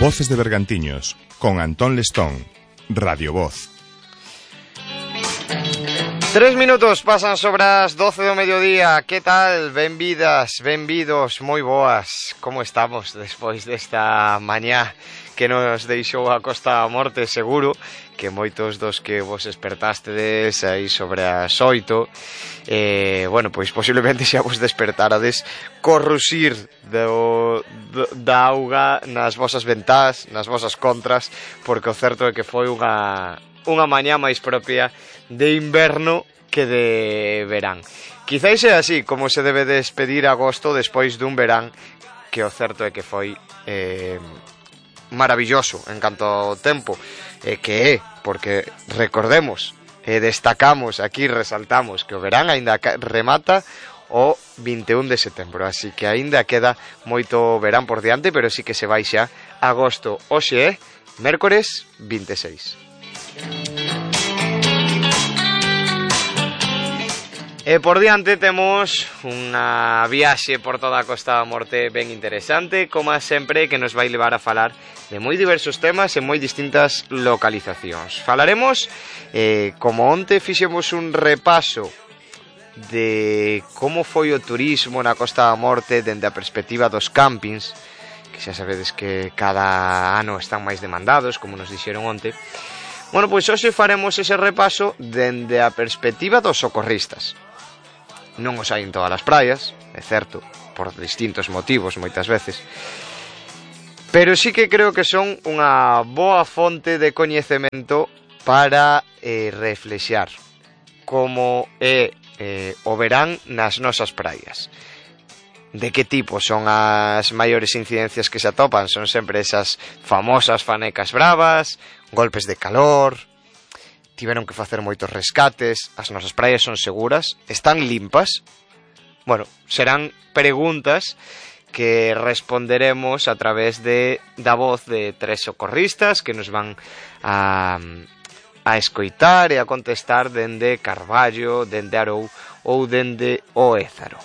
Voces de Bergantiños, con Antón Lestón, Radio Voz. 3 minutos pasan sobre as 12 do mediodía. Que tal? Benvidas, benvidos, moi boas. Como estamos despois desta mañá que nos deixou a Costa da Morte? Seguro que moitos dos que vos despertastedes aí sobre as 8 bueno, pois posiblemente xa vos despertarades co rusir da auga nas vosas ventás, nas vosas contras, porque o certo é que foi unha mañá máis propia de inverno que de verán. Quizais é así como se debe despedir agosto despois dun verán que o certo é que foi maravilloso en canto ao tempo, que é, porque recordemos e destacamos aquí, resaltamos que o verán aínda remata o 21 de setembro, así que aínda queda moito verán por diante, pero sí que se vai xa agosto. Hoxe é mércores 26. E por diante temos unha viaxe por toda a Costa da Morte ben interesante, como sempre, que nos vai levar a falar de moi diversos temas e moi distintas localizacións. Falaremos, como onte fixemos un repaso de como foi o turismo na Costa da Morte dende a perspectiva dos campings, que xa sabedes que cada ano están máis demandados, como nos dixeron onte. Bueno, pois hoxe faremos ese repaso dende a perspectiva dos socorristas. Non os hai en todas as praias, é certo, por distintos motivos moitas veces, pero sí que creo que son unha boa fonte de coñecemento para reflexar como é o verán nas nosas praias. De que tipo son as maiores incidencias que se atopan? Son sempre esas famosas fanecas bravas, golpes de calor, tiveron que facer moitos rescates, as nosas praias son seguras, están limpas. Bueno, serán preguntas que responderemos a través da voz de 3 socorristas que nos van a escoitar e a contestar dende Carballo, dende Arou ou dende o Ézaro.